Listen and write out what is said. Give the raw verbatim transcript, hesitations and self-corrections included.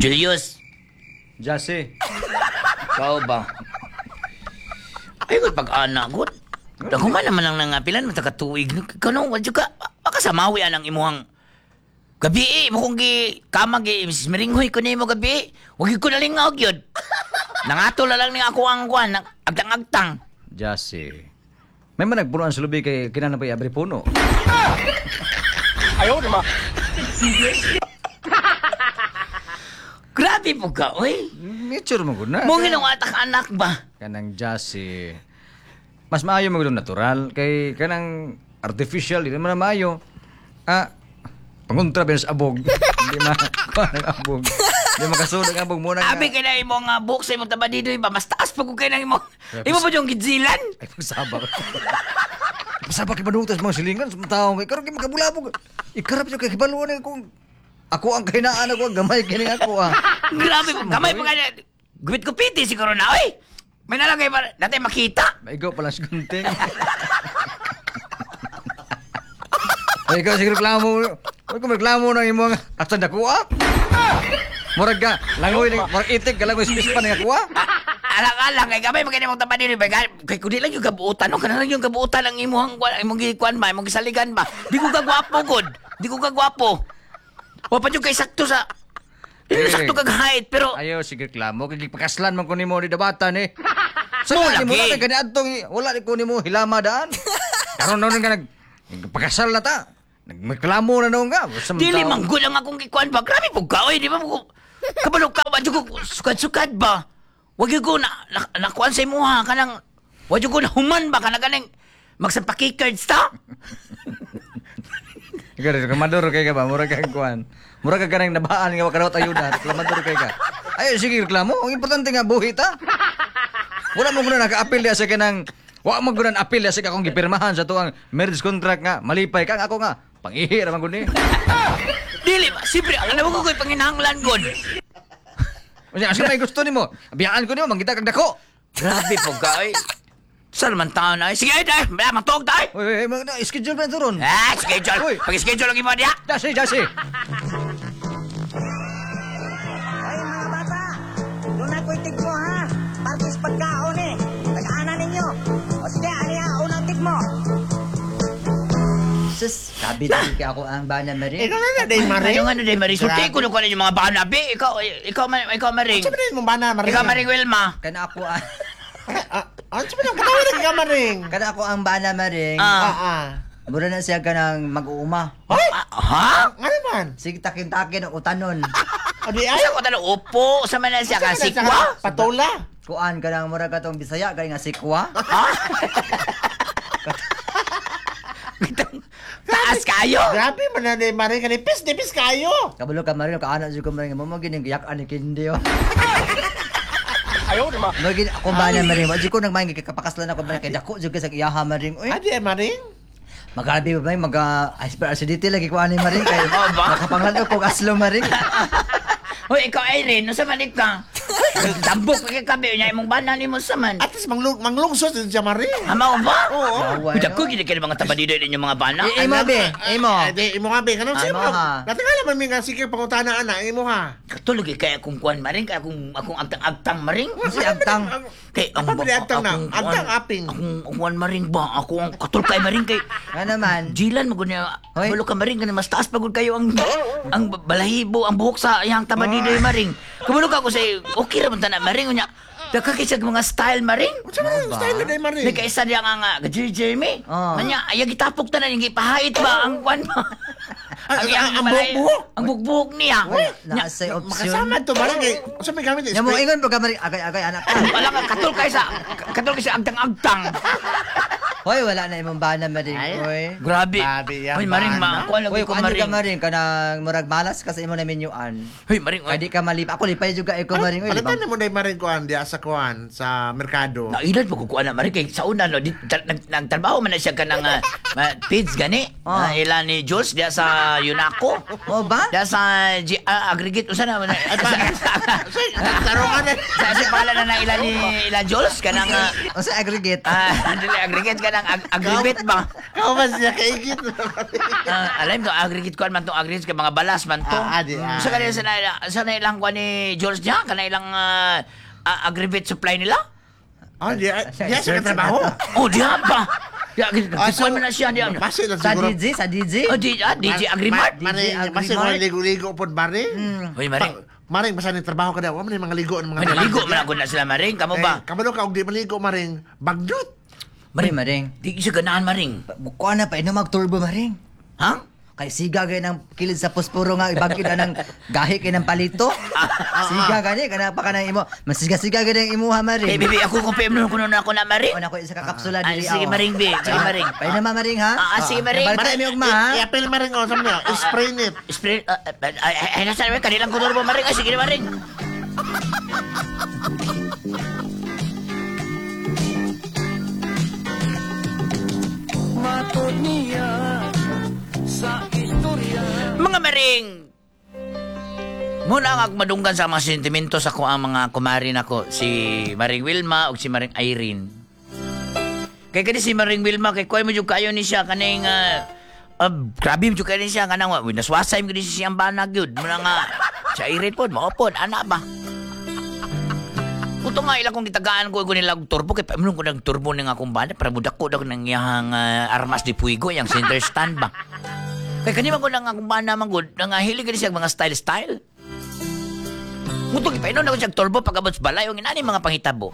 Julius, Jesse. ikaw ba? Ay, kung pag-ana, gud. Daghuman naman ang nangapilan, mata ka tuig. Kano, wadyo ka, baka sa mawi ang imuhang gabi eh, mo kong gi, kama gi, Missus Meringhoy ko nimo gabi. Wag ko nalingaw gyud. Nangato na lang ni ako ang kuan, agtang-agtang. Jesse. May man nagpuno ang sulubi kay kinahanglan pa i-abri puno. Ayaw naman. Grabe po ka, oy. Nature mo gud na. Mo ginong atak anak ba? Kanang Jesse. Mas maayo mo gud natural kay kanang artificial di naman na maayo. Ah, pangontra ba sa abog? Hindi ma kuan ang abog. Di makasunod ang abog mo na. Abi kay na imong uh, buhok sa imong tabadidoy ba mas taas pa kung kay nang imong imo pa yung gidzilan. Ay, pagsaba. Pagsaba kay banutas mga silingan sa mga tao. Kay karon kay makabulabog. Ikarap siya kay kibaluan eh kung ako ang kahinaan ako, ang gamay kini ako ah. Grabe po, kamay pa kaya. Gupit kupiti siguro na, oy. May nalagay pa, natin makita. Maigo pala sa gunting. Ay, ikaw sige reklamo. Huwag ko reklamo ng imong asa nakuha. Murag ka, langoy, murag itik ka langoy space pa nga kuha. Alang-alang, kay gamay pa kaya imong tabadidoy ba? Kay kundi lang yung kabuutan, no? Kana lang yung kabuutan ang imong, imong gikuan ba, imong gisaligan ba? Di ko kagwapo, god. Di ko kagwapo. Wa pa yung kay sakto sa... Di ko Eh. sakto kag height, pero... Ayaw sige reklamo kay gipakaslan man ko nimo ni dabatan eh. Sa Mo ni mo lagi. na kani adtong wala ni ko nimo hilama daan. Karon noon nga nag nagpakasal na ta. Nagreklamo na noon ka. Sa Dili tao. man gud ang akong gikuan ba? Grabe po ka, oy, di ba mo kabalo ka ba ko sukad-sukad ba? Wag gyud ko na, na nakuan sa imuha kanang wag gyud ko na human ba kana ganing magsampaki cards ta? Ikaw reklamador kay ka ba? Mura kang kuan. Mura ka kanang nabaan nga wakarawat ayuda. Reklamador kay ka. Ayo sige reklamo. Ang importante nga buhi ta. Wala mo guna naka-appeal diya sa kanang wa mo guna appeal diya sa akong gipirmahan sa tuang marriage contract nga malipay ka ako nga pangihi ra man gud ni. Dili ba? Siyempre, alam mo ko ko'y panginahanglan gud. Unya asa may gusto nimo? Biyaan ko nimo mangita kag dako. Grabe po ka, oy. Saan man taon na? Sige, ay, ay, matuog tayo. Oy, oy, oy, schedule pa ito ron. Ah, schedule. Uy. Pag-schedule ang iba niya. Jesse, Jesse. Ay, mga bata, doon ako'y tigmo, ha? Parkis pagkaon, eh. Tag-ana ninyo. O sige, ano yan? Unang tigmo. Sus, sabi din kay ako ang bana Maring. Ikaw na na, day Maring. Ano nga na, Maring? Sulti ko na yung mga bana, be. Ikaw, ikaw, ikaw, Maring. Ano ba mong bana, Maring? Ikaw, Maring Wilma. Kana ako ang Ah, Ano ba nang katawa na ka, Maring? kana ako ang bana Maring. Ah. Ah, ah. Mura na siya kanang mag-uuma. Hoy! Ah, ha? Nga naman. Sige takin-takin ang utanon. O di ay. Asa ko talo, upo, sa man na siya ka, sikwa? Patola. Kuan kanang mura katong Bisaya kay nga sikwa. Ha? Kitang taas kayo. Grabe man na, day Maring. Kanipis, nipis kayo. Kabalo ka Maring, kaana jud ko Maring mo mo gining giyak ani kindi oh. Ayaw naman. Mo gin ako bana Maring, wa jud ko nagmaing gikapakaslan ako Maring kay dako jud kay sa iyaha Maring. Uy, Adi, Maring. magabi ba Maring maga hyperacidity lagi ko ani Maring kay Oh, ba? makapanglan ko aslo Maring. Hoy, ikaw Irene, unsa man ka? Tambok ka kay kabi nya imong bana nimo sa man. At least manglung manglungsod din siya, Maring. Ama ba? Oo. Yawa, Uy, dako no? gid kay mga tabadido ninyo mga bana. Eh, imo be, imo. Adi, imo nga be. Kanang Ah, sino imo mo? ha. Natingala man mi nga sige pangutana ana, imo ha. Katulog eh, kay akong kuan maring, kay akong akong agtang-agtang maring. Si agtang. Kay ang Apa ba agtang na? akong kuwan- Agtang aping. Akong kuan maring ba? Ako ang katulog kay maring kay Nga naman. Jilan mo gunya. Hoy. Balo ka maring kana mas taas pa gud kayo ang ang balahibo, ang buhok sa iyang tabadido maring. Kabalo ka ko sa okay ra man tanan maring unya. Dagka kay siya mga style maring. Unsa man ang style na day, Maring? May kaisa diya nga nga Jeremy. Oh. Kanya ay gitapok tanan yung gipahait ba ang kwan ba? Ang- iyang ang- ang balay- buhok-buhok? Ang buhok-buhok niya. Wala Nya, na say option. Makasama to, Maring. Kay unsa may gamit? Nya mo ingon pa ka Maring agay-agay anak ka. Wala ka katul kay sa katul kay sa agtang-agtang. Hoy, wala na imong bana Maring. Hoy. Grabe. Grabe yan, Hoy maring bana. ma, kuan lagi Hoy, ko kuan jud ka maring. Maring kanang murag malas ka sa imo na menyuan. Hoy maring. Kay di ka malip. Ako lipay jud ka ikaw Maring. Oy, Palitan libang. mo day, Maring, kuan diya sa kuan sa merkado. Nailad pa ko kuan na maring kay sa una no di, tar, nag, nagtrabaho man na siya kanang uh, ma, P I D S gani. Ah. Uh, ila ni Jules diya sa Yunaco. Mo ba? Diya sa G, ah, aggregate usa na sa Tarungan na. sa sa pangalan na na ila ni ila Jules kanang ah, Unsa aggregate? ah, dili aggregate kanang kanang ag- agribet ba? Kauban siya kaigit. Ah, alam ko aggregate kuan man tong aggregate kay mga balas man to. Ah, ah, di, ah. Sa kanila sa na sa na ilang kuan ni George niya kana ilang ah, ah, aggregate supply nila. Oh, di di siya katrabaho. Oh, diha pa. Ya, Ah, so, kuan man na siya diha. Base lang Sa siguro. D J, sa D J. Oh, di, ah, D J Agrimart. Mare, D J base Agrimart. mga ligo-ligo pod mare. Hoy, Maring. Pa- Maring basta ni trabaho ka daw, wa man ni mga ligo ng mga. May naligo man ako na sila Maring, kamo ba? Eh, kabalo ka og di maligo maring bagdot. Maring, maring. Di siya ganahan Maring. Kuha na pa, inom mag-turbo, maring. Ha? Kay siga gay ng kilid sa posporo nga ibagid na ng gahi kay ng palito. Siga gani kana pa kanang imo. Masiga-siga gay ng imuha Eh, maring. bibi, ako kung P M nun kuno na ako na Maring. O na ko isa ka kapsula Ah, diri. sige, aw. Maring, bi. Sige, Maring. Painom ma maring ha. Ah, ah, sige, Maring. Balik mi ugma ha. I-appeal maring oh, sa niyo. Spray it. Spray, ah, ah, ay, ay, ay, nasa naman, kanilang kuno mo Maring. Ay, sige na, Maring. Mga Maring, muna ang agmadunggan sa mga sentimento sa ko ang mga kumari nako, si Maring Wilma ug si Maring Irene. Kay kani si Maring Wilma kay kuy mo jud kayo ni siya kaning uh, uh, grabe mo jud kayo ni siya kanang uh, naswasay mo gid siya ang banag yun. Muna nga sa Irene pod mao pod ana ba. Kuto nga ilang kong gitagaan ko ko nila og turbo kay paimnon ko nag turbo ning akong bana para budako daw nang iyahang uh, armas di puigo yang center stand ba. Kay kani man ko nang akong bana man gud nangahili gid siya og mga style style. Kuto gipainon ako siya og turbo pag abot sa balay ang inani mga panghitabo.